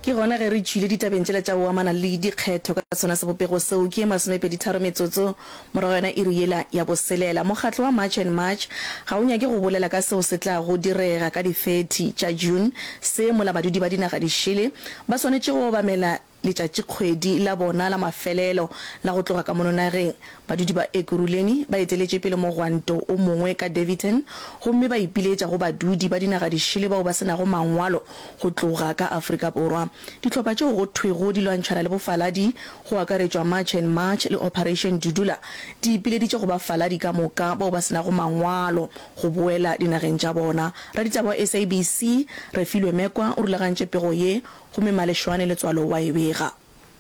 Ke gona ge re tšwile ditabeng tšela tša go amana le dikgetho ka sona sebopego seo. Ke ye masomepeditharo metsotso morago ga yona iri yela ya boselela. Mokgatlo wa March and March ga o nyake go bolela ka seo se tlago direga ka di 30 tša June se mola badudi ba dinaga dišele ba swanetše go obamela letšatšikgwedi la bona la mafelelo la go tloga ka mono nageng. Badudi ba Ekurhuleni ba eteletše pele mogwanto o mongwe ka Daveyton gomme ba ipiletša go badudi ba dinaga dišele bao ba se nago mangwalo go tloga ka Afrika Borwa. Dihlopha tšeo go thwego di lwantšhana le bofaladi, go akaretšwa March and March le Operation Dudula, di ipileditše go bafaladi ka moka bao ba se nago mangwalo go boela dinageng tša bona. Raditaba wa SABC, Refilwe Mekwa o rulagantše pego ye gomme Maleshwane Letswalo wa e bega.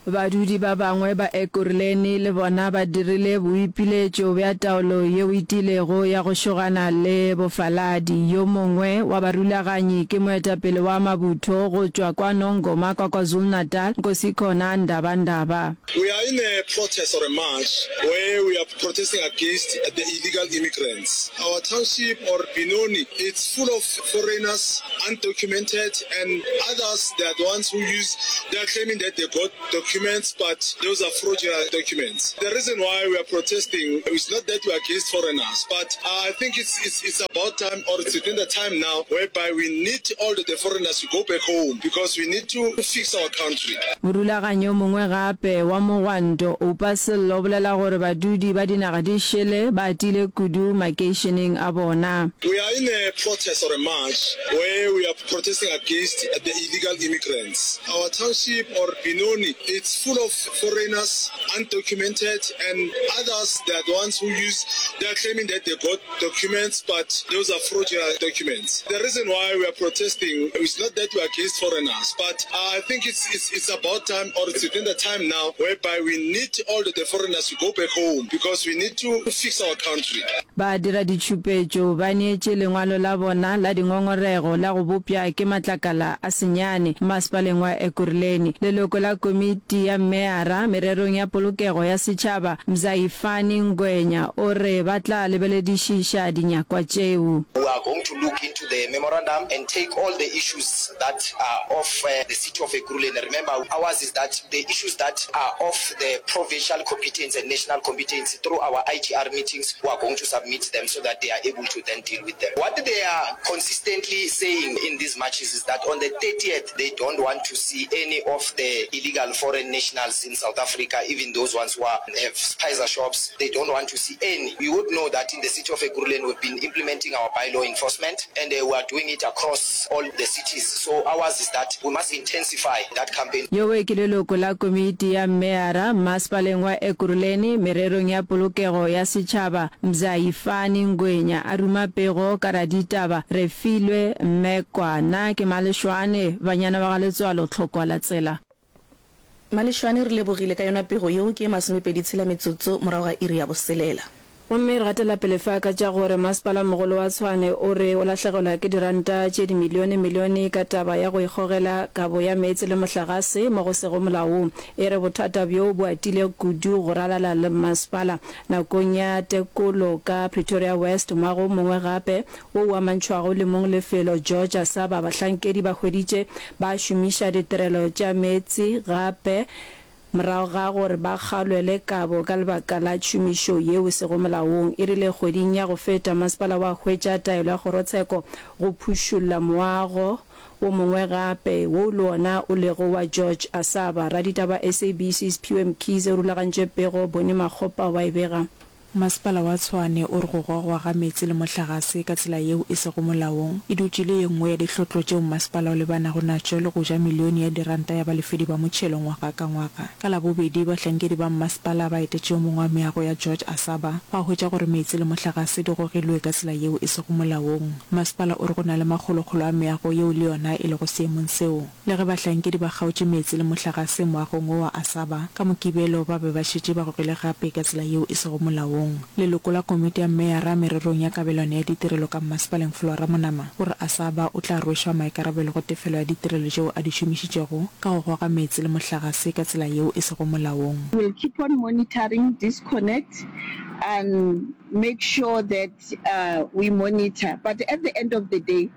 Badudi ba bangwe ba Ekurhuleni le bona ba dirile boipiletšo bja taolo yeo e tiilego ya go šogana le bofaladi. Yo mongwe wa barulaganyi ke moetapele wa mabutho go tšwa kwa Nongoma kwa KwaZulu-Natal, Nkosikhona Ndabandaba. We are in a protest or a march where we are protesting against the illegal immigrants. Our township or Benoni it's full of foreigners, undocumented and others they are the ones who use they are claiming that they got documents but those are fraudulent documents. The reason why we are protesting is not that we are against foreigners but I think it's it's it's about time or it's within the time now whereby we need all the, the foreigners to go back home because we need to fix our country. Morulaganyi yo mongwe gape wa mogwanto, Oupa Sello o bolela gore badudi ba dinaga di šele ba atile kudu makeišeneng a bona. We are in a protest or a march where we are protesting against the illegal immigrants. Our township or Benoni it's full of foreigners, undocumented and others they are the ones who use they are claiming that they got documents but those are fraudulent documents. The reason why we are protesting is not that we are against foreigners but I think it's it's it's about time or it's within the time now whereby we need all the, the foreigners to go back home because we need to fix our country. Badiraditšhupetšo ba neetše lengwalo la bona la dingongorego la go bopša ke matlakala a senyane mmasepaleng wa Ekurhuleni. Leloko la komiti ya meyara mererong ya polokego ya setšhaba, Mzayifani Ngwenya o re ba tla lebeledišiša dinyakwa tšeo. We are going to look into the memorandum and take all the issues that are of the city of Ekurhuleni. Remember ours is that the issues that are of the provincial competence and national competence through our IGR meetings we are going to submit them so that they are able to then deal with them. What they are consistently saying in these marches is that on the 30th they don't want to see any of the illegal foreign nationals in South Africa, even those ones who are, have spaza shops, they don't want to see any. You would know that in the city of Ekurhuleni we've been implementing our bylaw enforcement and uh, we are doing it across all the cities. So ours is that we must intensify that campaign. Yowe ke leloko la komiti ya mmeyara mmasepaleng wa Ekurhuleni mererong ya polokego ya setšhaba, Mzayifani Ngwenya a ruma pego ka raditaba Refilwe Mmekwana. Ke Maleshwane, banyana ba ga Letswalo Tlhokwa la tsela. Maleshwane re lebogile ka yona pego yeo ke ye masomepedi tshela metsotso morago ga iri ya boselela. Gomme re gatela pele fa ka tša gore Masepala-mogolo wa Tshwane o re o lahlegelwa ke diranta tše dimilione-milione ka taba ya go ikgogela kabo ya meetse le mohlagase mo go sego molaong. E re bothata bjo bo atile kudu go ralala le mmasepala. Nakong ya tekolo ka Pretoria West moago o mongwe gape wo o amantšhwago le mong lefelo George Asaba bahlankedi ba hweditše ba šomiša ditirelo tša meetse gape Morago ga gore ba kgalwe le kabo ka lebaka la tšhomišo yeo e sego molaong, e rile kgweding ya go feta masepala wa hwetša taelo ya kgorotsheko go phušulla moago wo mongwe gape wo le wona o lego wa George Asaba. Raditaba SABC Sphiwe Mkhize o rulagantše pego, Bonnie Makgopa wa e bega. Masepala wa Tshwane o re go gogwa ga meetse le mohlagase ka tsela yeo e sego molaong e dutše e le ye nngwe ya dihlotlo tšeo mmasepala o lebanago natšo le go ja milione ya diranta ya balefedi ba motšhelo ngwaga ka ngwaga. Ka Labobedi, bahlankedi ba mmasepala ba etetše yo mongwe wa meago ya George Asaba ba hwetša gore meetse le mohlagase di gogilwe ka tsela yeo e sego molaong. Masepala o re go na le makgolokgolo a meago yeo le yona e lego seemong seo. Le ge bahlankedi ba kgaotše meetse le mohlagase moagong wo wa Asaba, ka Mokibelo ba be ba šetše ba gogile gape ka tsela yeo e sego molaong. Leloko la komiti ya meyara mererong ya kabelano ya ditirelo ka mmasepaleng Flora Monama o re Asaba o tla rwešwa maikarabelo go tefelo ya ditirelo tšeo a di šomišitšego ka go goga meetse le mohlagase ka tsela yeo e sego molaong. We'll keep on monitoring disconnects and make sure that we monitor but at the end of the day.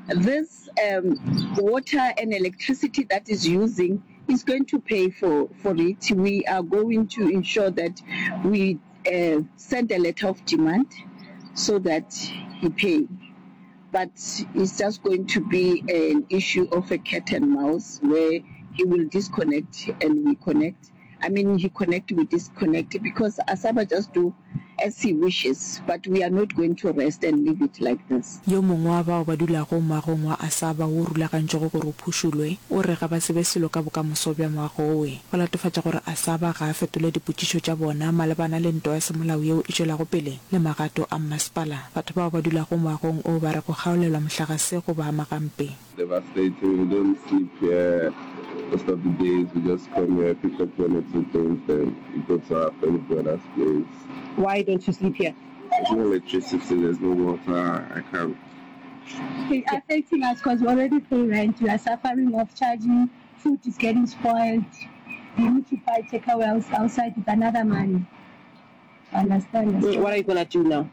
This um, water and electricity that is using is going to pay for, for it. We are going to ensure that we uh, send a letter of demand so that he pay. But it's just going to be an issue of a cat and mouse where he will disconnect and we connect. I mean, he connect, we disconnect because Asaba just do as he wishes, but we are not going to rest and leave it like this. Yo mongwe wa bao ba dulago moagong wa Asaba wo o rulagantšwego gore o phušulwe, o re ga ba tsebe selo ka bokamoso bja moago owe. Go latofatša gore Asaba ga a fetole dipotšišo tša bona malebana le ntwa ya semolao yeo e tšwelago pele le magato a mmasepala. Batho bao ba dulago moagong o ba re go kgaolelwa mohlagase go ba ama gampe. Devastating, we don't sleep here most of the days, we just come here, pick up one or two things then we go to our fellow brother's place. Why don't you sleep here? There's no electricity, there's no water, I can't. It's affecting us cause we already pay rent, we are suffering of charging, food is getting spoiled, we need to buy takeaways outside with another money. Understand? What are you gonna do now?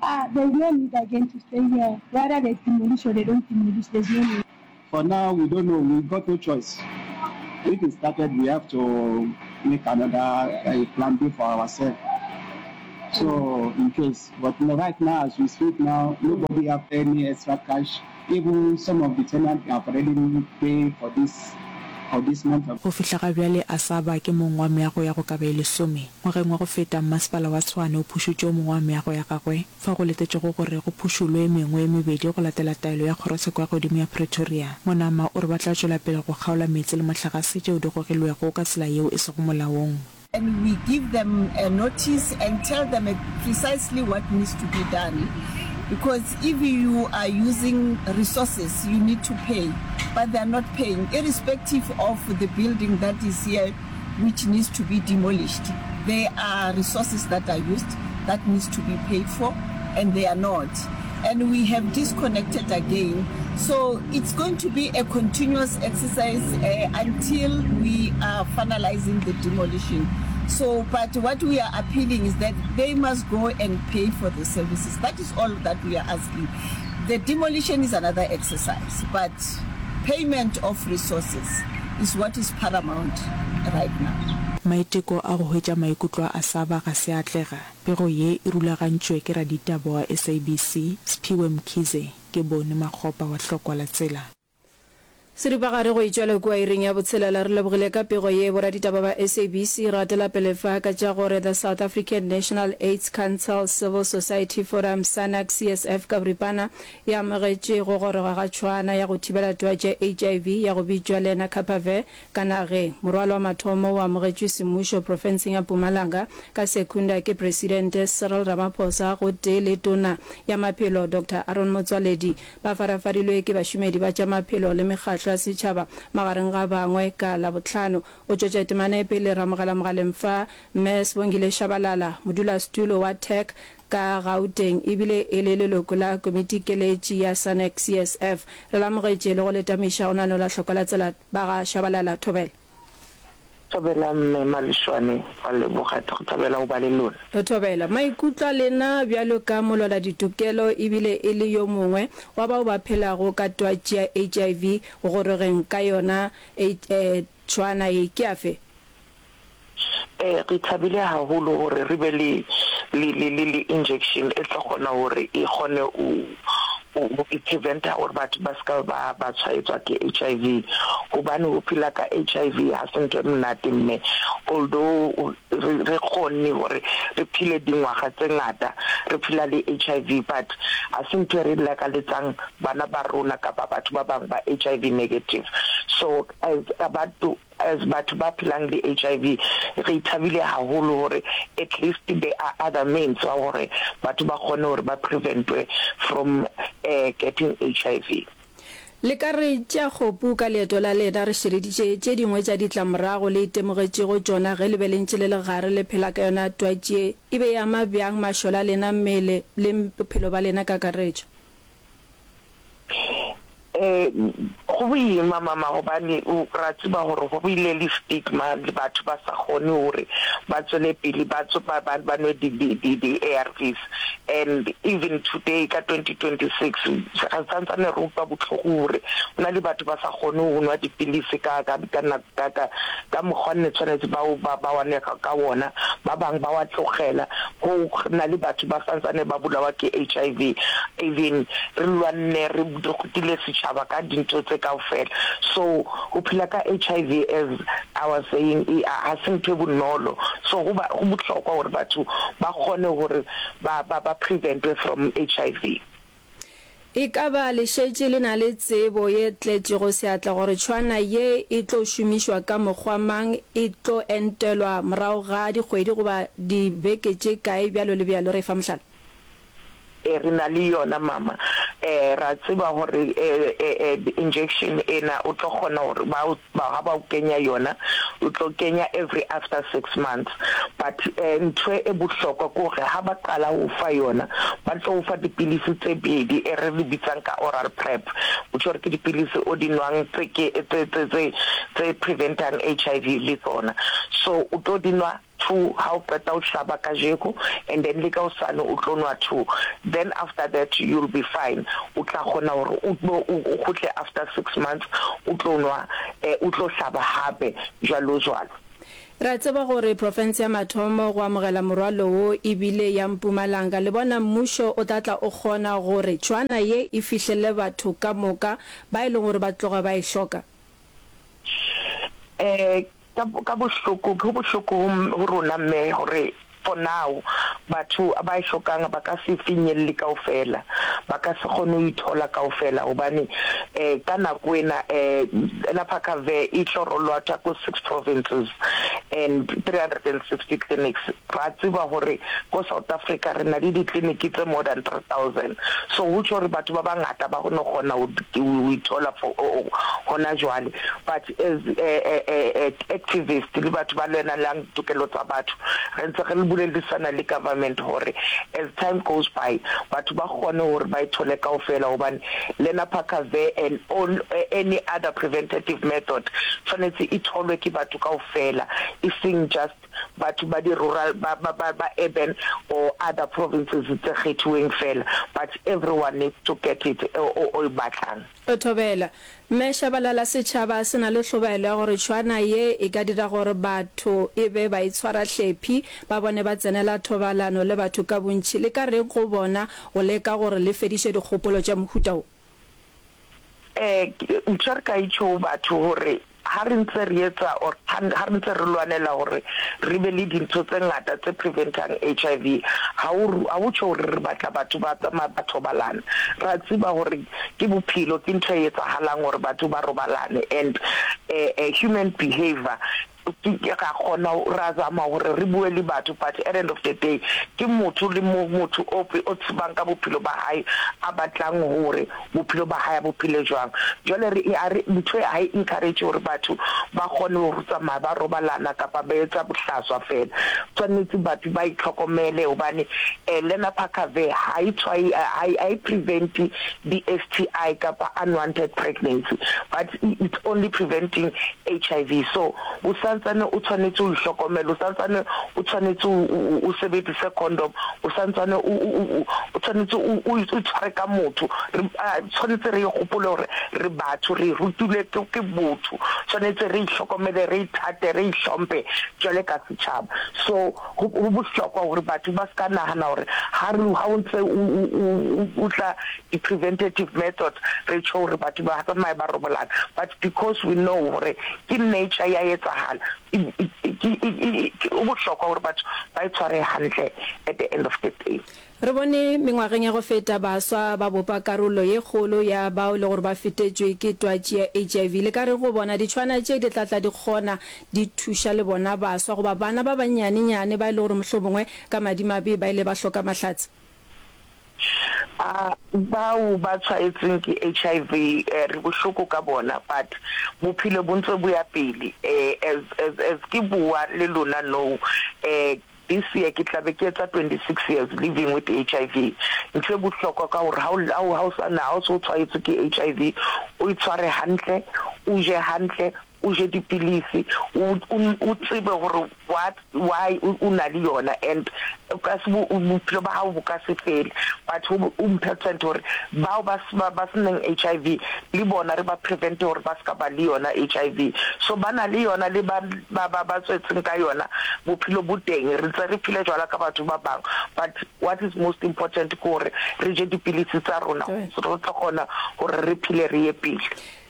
Ah, there's no need again to stay here. Whether they demolish or they don't demolish, there's no need. For now, we don't know. We got no choice. If it started, we have to make another uh, plan B for ourselves. So, in case, but right now, as we speak now, nobody have any extra cash. Even some of the tenants have already paid for this for this month of Go fihla ga bjale Asaba ke mong wa meago ya go ka ba e lesome. Ngwageng wa go feta, Mmasepala wa Tshwane o phušutše o mongwe wa meago ya gagwe, fao go letetšwego gore go phušolwe e mengwe e mebedi go latela taelo ya Kgorotsheko ya Godimo ya Pretoria. Monama o re ba tla tšwela pele go kgaola meetse le mohlagase tšeo di gogilwego ka tsela yeo e sego molaong. And we give them a notice and tell them precisely what needs to be done because if you are using resources you need to pay but they are not paying irrespective of the building that is here which needs to be demolished there are resources that are used that needs to be paid for and they are not and we have disconnected again so it's going to be a continuous exercise uh, until we are finalizing the demolition so but what we are appealing is that they must go and pay for the services that is all that we are asking the demolition is another exercise but payment of resources is what is paramount right now. Maiteko a go hwetša maikutlo a Asaba ga se a atlega. Pego ye e rulagantšwe ke raditaba wa SABC, Sphiwe Mkhize, ke Boni Makgopa wa Hlokwa la Tsela. Seripagare go itšwela kua iring ya botshelela. Re lebogile ka pego ye boraditaba ba SABC. Re gatela pele fa ka tša gore The South African National AIDS Council Civil Society Forum, SANAC CSF ka boripana, e amogetše go goroga ga tšhwaana ya go thibela twatši ya HIV ya go bitšwa Lenacapavir Ka nageng, morwalo wa mathomo o amogetšwe semmušo profenseng ya Mpumalanga ka Secunda ke Presidente Cyril Ramaphosa gotee le Tona ya Maphelo Doctor Aaron Motsoaledi. Ba farafarilwe ke bašomedi ba tša maphelo le mekgahlo ya setšhaba magareng ga bangwe ka Labohlano. O tšwetša temana e pele re amogela mogaleng fa Mme Sibongile Shabalala, modulasetulo wa TAC ka Gauteng ebile e le leloko la komitikeletši ya SANAC CSF. Re le amogetše le go le tamiša go nano la Hloko la Tsela ba ga Shabalala. Thobela. Thobela Mme Malešwane, ra leboga go thabela go ba le lona. Thobela. Maikutlo a lena bjalo ka molweladitokelo ebile e le yo mongwe wa bao ba phelago ka twatši ya HIV go gorogeng ka yona tšhwaana ye ke afe? Ee, re thabile haholo hore re be le le le le le injection e tlo kgona hore e kgone ho ho e prevent-a hore batho ba ska ba ba tshwaetswa ke H_I_V. Hobane ho phela ka H_I_V ha se ntho e monate mme although re re kgonne hore re phele dingwaga tse ngata re phela le H_I_V but ha se ntho e re lakaletsang bana ba rona kapa batho ba bang ba H_I_V negative. So as batho As batho ba phelang le HIV re thabile haholo hore at least there are other means wa hore batho ba kgone hore ba preventwe from getting HIV. Le ka re tšea kgopu ka leeto la lena re šireditše tše dingwe tša ditlamorago le itemogetšego tšona ge le be le ntše le le gare le phela ka yona twatši ye e be e ama bjang mašole a lena mmele le bophelo ba lena kakaretšo? Eh, go boima mama gobane o ra tseba gore go bile le stigma le batho ba sa kgone gore ba tswele pele ba ba ba ba nwe di di di di ARVs and even today ka 2026 re santsane re utlwa botlhoko gore go na le batho ba sa kgone go nwa dipilisi ka ka ka ka ka ka mokgwa nne tshwanetse ba ba ba wa nwe ka wona ba bang ba wa tlogela go na le batho ba santsane ba bolawa ke HIV even re lwanne re rutile setšhaba ka dintho tse kaofela. So go phela ka HIV as I was saying e ga se ntho e bonolo. So go ba go bohlokwa gore batho ba kgone gore ba ba ba preventwe from HIV. E ka ba le šetše le na le tsebo ye tletšego seatla gore tšhwana ye e tlo šomišwa ka mokgwa mang, e tlo entelwa morago ga dikgwedi goba dibeke tše kae, bjalo le bjalo. Re fa mohlala. E, re na le yona, mama. E, ra tseba gore e, e, e, injection ena o tlo kgona gore ba, ba, ha ba o kenya yona, o tlo kenya every after six months. But e, ntho e bohlokwa ke gore ha ba qala ho fa yona, ba tlo o fa dipilisi tse pedi e re di bitsang ka oral prep, which gore ke dipilisi o di nwang tse ke, tse, tse, tse, tse preventang HIV le tsona. So o tlo di nwa 2 ha o qeta o hlaba kajeko and then le ka hosane o tlo nwa 2 then after that you'll be fine o tla kgona hore o tlo o kgutle after 6 months o tlo nwa o tlo hlaba hape jwalo jwalo. Re a tseba gore profense ya mathomo go amogela morwalo wo e bile ya Mpumalanga. Le bona mmušo o tla tla o kgona gore tšhwana ye e fihlele batho ka moka ba e leng gore ba tloga ba e hloka? Eh, Ka, ka bohloko, go bohloko go, go rona mme gore for now batho ba e hlokang ba ka se finyelle kaofela, ba ka se kgone ho ithola kaofela hobane eh, ka nako ena eh, Lenapakavir e tlo rolwatha ko six provinces and 360 clinics. Ra tseba hore ko South Africa re na le ditleliniki tse more than 3000 so ho tjho hore batho ba bangata ba no kgona ho ithola for hona jwale but as activist le batho ba lwenelang ditokelo tsa batho re ntse re bolelisana le government hore as time goes by batho ba kgone hore ba ithole kaofela hobane Lenapakavir and all any other preventative method tshwanetse e tholwe ke batho kaofela e seng just batho ba di rural ba ba ba ba urban or other provinces tse kgethiweng fela but everyone needs to get it o o o e batlang. Thobela. Mme Shabalala setšhaba se na le hlobaelo ya gore tšhwana ye e ka dira gore batho e be baitshwarahlephi, ba bone ba tsenela thobalano le batho ka bontši. Le ka reng go bona go leka gore le fediše dikgopolo tša mohuta wo? Eh, ntho e re ka e tjho ho batho hore ha re ntse re etsa or ha re ntse re lwanela hore re be le dintho tse ngata tse preventang H_I_V, ha o ha o tjho hore re batla batho ba tsamaya ba thobalana. Ra tseba hore ke bophelo, ke ntho e etsahalang hore batho ba robalane and human behaviour Ke ra kgona ra zama hore re bue le batho but at end of the day ke motho le motho o o tsebang ka bophelo ba hae a batlang hore bophelo ba hae a bo phele jwang. Jwale re ha re ntho e ha e encourage hore batho ba kgone ho tsamaya ba robalana kapa ba etsa bohlaswa fela. Tshwanetse batho ba itlhokomele hobane Lenapakavir ha e tshwae ha e prevent di-S_T_I kapa unwanted pregnancy but it's only preventing H_I_V so o santsane o tshwanetse o ihlokomele, o santsane o tshwanetse o sebedise condom, o santsane o tshwanetse o itshware ka motho. Re tshwanetse re gopole gore re batho, re rutilwe ke botho, tshwanetse re ihlokomele, re ithate, re ihlomphe jwale ka setšhaba. So go bohlokwa gore batho ba se ka nagana gore ha re ha o ntse o tla di-preventative methods re tjho gore batho ba tsamaye ba robalana but because we know gore ke nature ya etsahala go bohlokwa gore batho ba e tshware hantle at the end of the day. Re bone mengwageng ya go feta baswa ba bopa karolo ye kgolo ya bao e le gore ba fetetšwe ke twatši ya HIV. Le ka reng go bona ditšhwana tše di tla tla di kgona di thuša le bona baswa goba bana ba bannyane-nyane ba e le gore mohlomongwe ka madimabe ba ile ba hloka mahlatse? A Bao ba tshwaetsweng ke HIV re bohloko ka bona but bophelo bo ntse bo ya pele as as as ke bua le lona nou. This year ke tla be ke etsa 26 years living with HIV. Ntho e bohlokwa ka hore ha o ha o sa na ha o se o tshwaetswe ke HIV, o itshware hantle, o je hantle, o je dipilisi, o o tsebe hore what why o na le yona and o ka se bophelo ba hao bo ka se fele. But ho important hore bao ba ba senang HIV le bona re ba prevent-e hore ba ska ba le yona HIV. So ba na le yona le ba ba ba ba tswetseng ka yona bophelo bo teng re ntse re phela jwalo ka batho ba bang but what is most important ke hore re je dipilisi tsa rona re tlo kgona hore re phele re ye pele.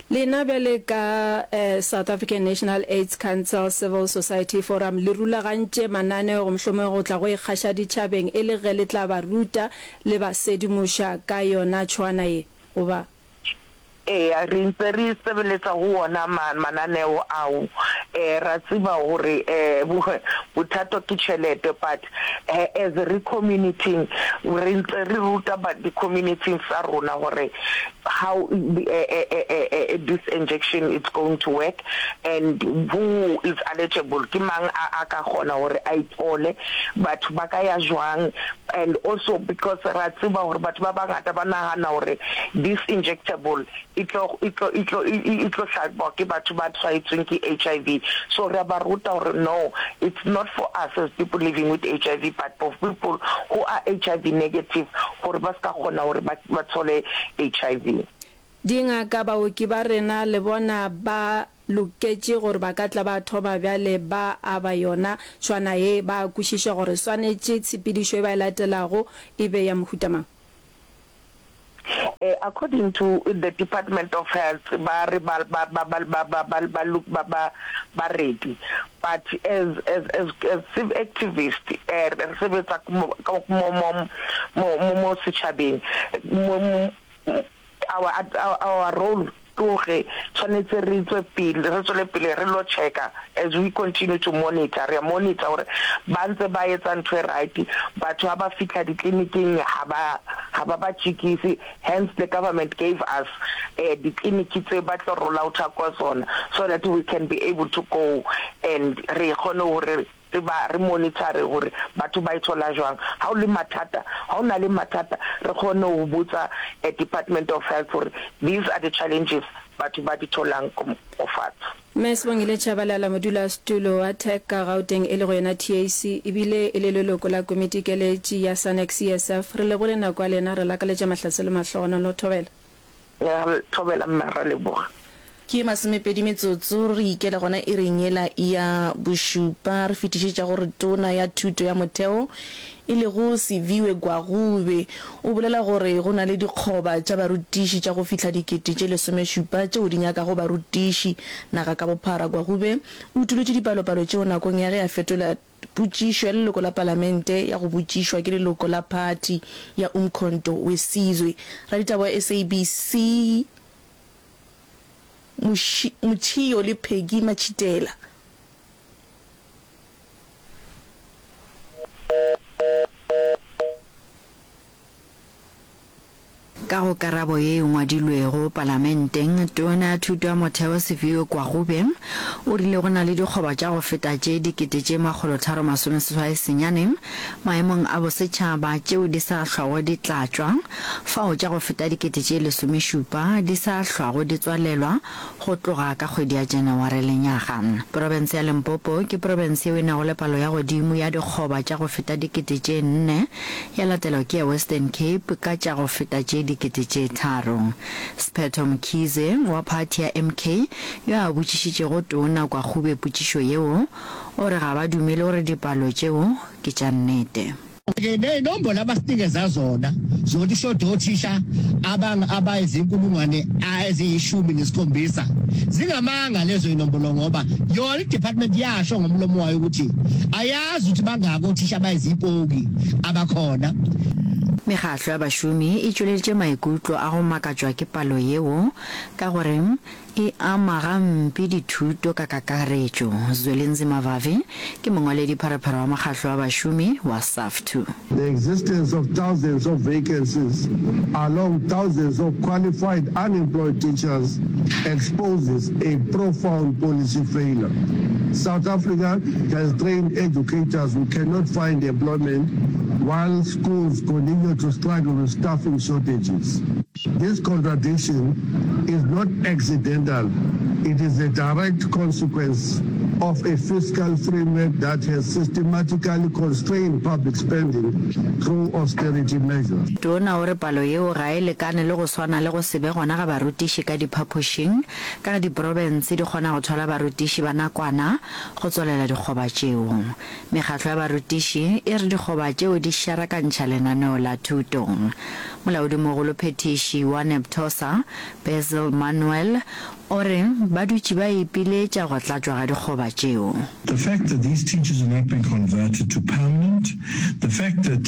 Lena bjale ka South African National AIDS Council Civil Society Forum le rulagantše mananeo mohlomongwe go tla go ikgaša ditšhabeng e le ge le tla ba ruta le ba sedimoša ka yona tšhwana ye goba Eya, re ntse re sebeletsa ho ona mananeo ao. Ra tseba hore bothata ke tjhelete but as re community-ing re ntse re ruta di-community-ing tsa rona hore how this injection it's going to work and who is eligible, ke mang a ka kgona hore a e thole, batho ba ka ya jwang. And also because ra tseba hore batho ba bangata ba nahana hore this injectable e tlo e tlo e tlo e tlo hlabwa ke batho ba tshwaetsweng ke H_I_V. So re a ba ruta hore no, it's not for us as people living with H_I_V but for people who are H_I_V negative hore ba ska kgona hore ba ba thole H_I_V. Dingaka, baoki ba rena le bona ba loketše gore ba ka tla ba thoma bjale ba aba yona tšhwana ye, ba a kwešiša gore swanetše tshepedišo e ba e latelago e be ya mohuta mang. According to the Department of Health ba re ba ba ba ba ba ba ba ba ba ba ba ready but as as as as civ activist re sebetsa mo mo mo mo mo setšhabeng mo Our, our, our role ke gore tshwanetse re tswe pele, re tswele pele re lo check-a as we continue to monitor, re a monitor gore ba ntse ba etsa ntho e right, batho ha ba fihla ditleliniking ha ba, ha ba ba tjekise, hence the government gave us ditleliniki tse ba tlo roll out-a ka tsona so that we can be able to go and re kgone hore Re ba re monitor-re gore batho ba e thola jwang. Ha o le mathata, ha o na le mathata, re kgone ho botsa Department of Health gore these are the challenges batho ba di tholang ko fatshe. Mme Sibongile Tshabalala, modulasetulo wa TAC ka Gauteng e lego yona TAC, ebile e le leloko la komitikeletši ya SANEC CSF, re lebogile nako ya lena, re lakaletša mahlatse le mahlogonolo. Thobela. Ra thobela mma ra leboga. Ke masomepedi metsotso re ikela gona iring yela ya bošupa. Re fetišetša gore Tona ya Thuto ya Motheo e lego Siviwe Gwarube o bolela gore go na le dikgoba tša barutiši tša go fihla dikete tše lesomešupa tšeo di nyakago barutiši naga ka bophara. Gwarube o utolotše dipalopalo tšeo nakong ya ge a fetola Potšišo ya leloko la palamente ya go botšišwa ke leloko la phathi ya Umkhonto we Sizwe. Raditaba wa SABC Motšhio le Peggy Matšhitela. Ka go karabo ye e ngwadilwego Palamenteng, Tona ya Thuto ya Motheo Siviwe Gwarube o rile go na le dikgoba tša go feta tše 3689 maemong a bosetšhaba tšeo di sa hlwago di tlatšwa, fao tša go feta 17,000 di sa hlwago di tswalelwa go tloga ka kgwedi ya Janaware lenyaga. Profense ya Limpopo ke profense yeo e nago le palo ya godimo ya dikgoba tša go feta 4000 ya latelwa ke ya Western Cape ka tša go feta tše 3000. Sephetho Mkhize wa phathi ya MK yo a botšišitšego Tona Kwagube potšišo yeo, o re ga ba dumele gore dipalo tšeo ke tša nnete. Ke ney'nombolo abasinikeza zona zokuthi kushoda othisha abayizinkulungwane eziyishumi nesikhombisa. Zingamanga lezo y'nombolo ngoba yona i-department yasho ngomlomo wayo ukuthi Azi ukuthi bangaki othisha abayizipoki abakhona. Mekgahlo ya bašomi e tšweleditše maikutlo a go makatšwa ke palo yeo ka gore E ama gampe dithuto ka kakaretšo. Zwelinzima Vavi ke mongwaledipharephare wa mokgahlo wa bašomi wa SAFTU. The existence of thousands of vacancies along thousands of qualified unemployed teachers exposes a profound policy failure. South Africa has trained educators who cannot find employment while schools continue to struggle with staffing shortages. This contradiction is not accidental, it is a direct consequence of a fiscal framework that has systematically constrained public spending through austerity measures. Tona o re palo yeo ga e lekane le go swana le go se be gona ga barutiši ka diphapošing ka ge diprofense di kgona go thwala barutiši ba nakwana go tswalela dikgoba tšeo. Mekgatlo ya barutiši e re dikgoba tšeo di šarakantšha lenaneo la thuto. Molaodimogolophethiši wa Neptosa, Basil Manuel, o re ba dutše ba ipiletša go tlatšwa ga dikgoba tšeo. The fact that these teachers are not being converted to permanent, the fact that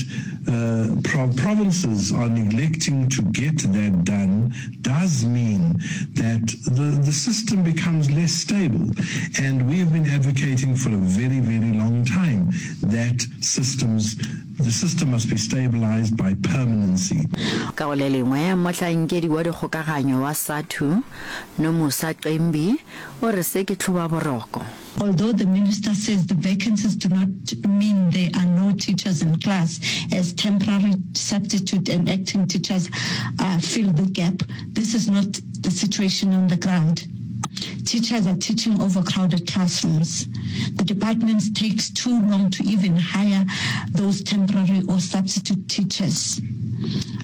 provinces are neglecting to get that done does mean that the, the system becomes less stable. And we have been advocating for a very, very long time that systems, the system must be stabilized by permanency. Ka go le lengwe, mohlankedi wa dikgokaganyo wa SADTU, Nomusa Cembi, o re se ke tlhobaboroko. Although the minister says the vacancies do not mean there are no teachers in class, as temporary, substitute and acting teachers uh, fill the gap, this is not the situation on the ground. Teachers are teaching overcrowded classrooms. The department takes too long to even hire those temporary or substitute teachers.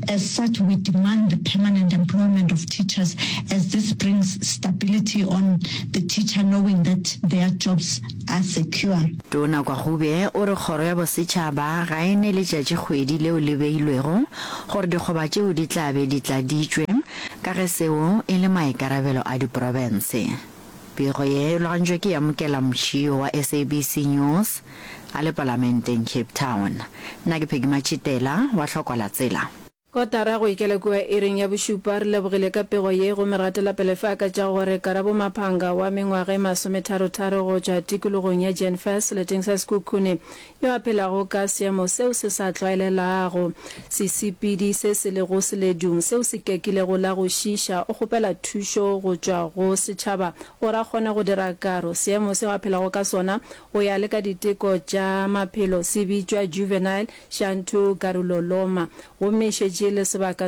As such, we demand the permanent employment of teachers as this brings stability on the teacher knowing that their jobs are secure. Tona Kwagube o re kgoro ya bosetšhaba ga e ne letšatšikgwedi leo le beilwego gore dikgoba tšeo di tla be di tladitšwe ka ge seo e le maikarabelo a diprofense. Pego ye e logantšwe ke Yamukela Mtshio wa SABC News a le Palamenteng Cape Town. Nna ke Peggy Matšitela wa Hlokwa la Tsela. Kotara go ikela kua iring ya bošupa. Re lebogile ka pego ye gomme re gatela pele fa ka tša gore Karabo Maphanga wa mengwaga e masometharotharo go tšwa tikologong ya Jenfers seleteng sa Sekhukhune yo a phelago ka seemo seo se sa tlwaelelago, sesepedi se se lego seledung seo se kekilego la go šiiša, o kgopela thušo go tšwa go setšhaba gore a kgone go dira karo. Seemo seo a phelago ka sona go ya le ka diteko tša maphelo se bitšwa juvenile xanthogaruloloma gomme e šetše e le sebaka.